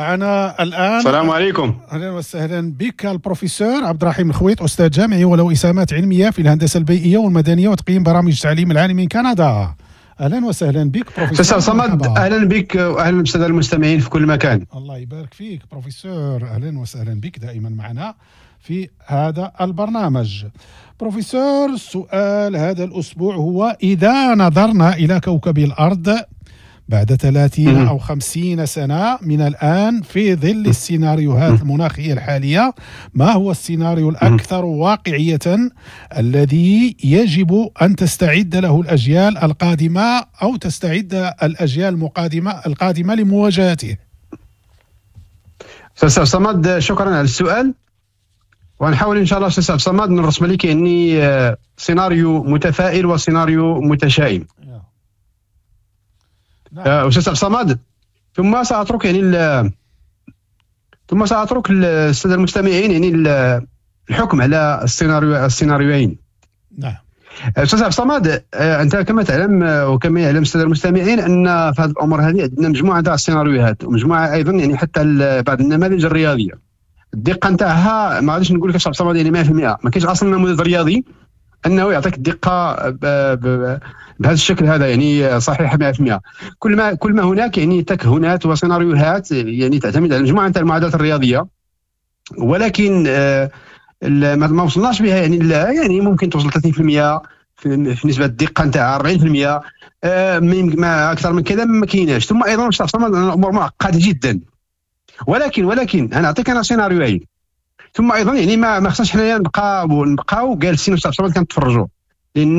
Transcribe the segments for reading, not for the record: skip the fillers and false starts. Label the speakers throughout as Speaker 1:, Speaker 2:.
Speaker 1: معنا الآن.
Speaker 2: السلام عليكم.
Speaker 1: أهلا وسهلا بك البروفيسور عبد الرحيم الخويط، أستاذ جامعي وله إسهامات علمية في الهندسة البيئية والمدنية وتقييم برامج التعليم العالي من كندا. أهلا وسهلا بك بروفيسور.
Speaker 2: أستاذ صمد، أهلا بك وأهلا بالسادة المستمعين في كل مكان.
Speaker 1: الله يبارك فيك بروفيسور، أهلا وسهلا بك دائما معنا في هذا البرنامج. بروفيسور، سؤال هذا الأسبوع هو: إذا نظرنا إلى كوكب الأرض بعد 30 أو 50 سنة من الآن في ظل السيناريوهات المناخية الحالية، ما هو السيناريو الأكثر واقعية الذي يجب أن تستعد له الأجيال القادمة أو تستعد الأجيال القادمة لمواجهته؟
Speaker 2: أستاذ صمد، شكرا على السؤال، ونحاول ان شاء الله استاذ صمد نرسم لك يعني سيناريو متفائل وسيناريو متشائم. نعم. استاذ صمد، ثم ساترك السادة المستمعين يعني الحكم على السيناريوين.
Speaker 1: نعم.
Speaker 2: استاذ عبد الصمد، انت كما تعلم وكما يعلم السادة المستمعين ان في هذه الامور هذه عندنا مجموعة تاع السيناريوهات ومجموعة ايضا يعني حتى بعض النماذج الرياضية الدقة نتاعها ما غاديش نقول لك استاذ عبد الصمد يعني 100%. ما كاينش اصلا نموذج رياضي انه يعطيك الدقة بهذا الشكل هذا يعني صحيحه 100%. كل ما هناك يعني تكهنات وسيناريوهات يعني تعتمد على مجموعة نتاع المعادلات الرياضيه، ولكن ما وصلناش بها يعني يعني ممكن توصل 30% في نسبه الدقة نتاع 40%، ما اكثر من كذا ما كايناش. ثم ايضا الامور معقدة جدا، ولكن انا نعطيك انا سيناريوهين. ثم ايضا يعني ما خصناش حنايا نبقاو جالسين كنتفرجوا، لان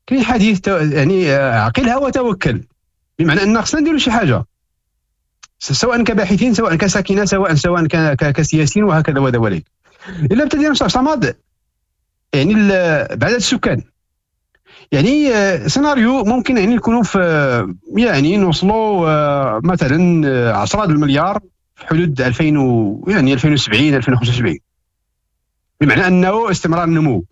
Speaker 2: كاين حديث يعني عقلها وتوكل، بمعنى ان خصنا نديروا شي حاجة سواء كباحثين، سواء كساكنه، سواء كسياسيين وهكذا ودواليك. الا ابتدينا صمد يعني بعدد السكان، يعني سيناريو ممكن يعني نكونوا في يعني نوصلوا مثلا 10 المليار في حدود 2000 و يعني 2070، 2075، بمعنى انه استمرار النمو.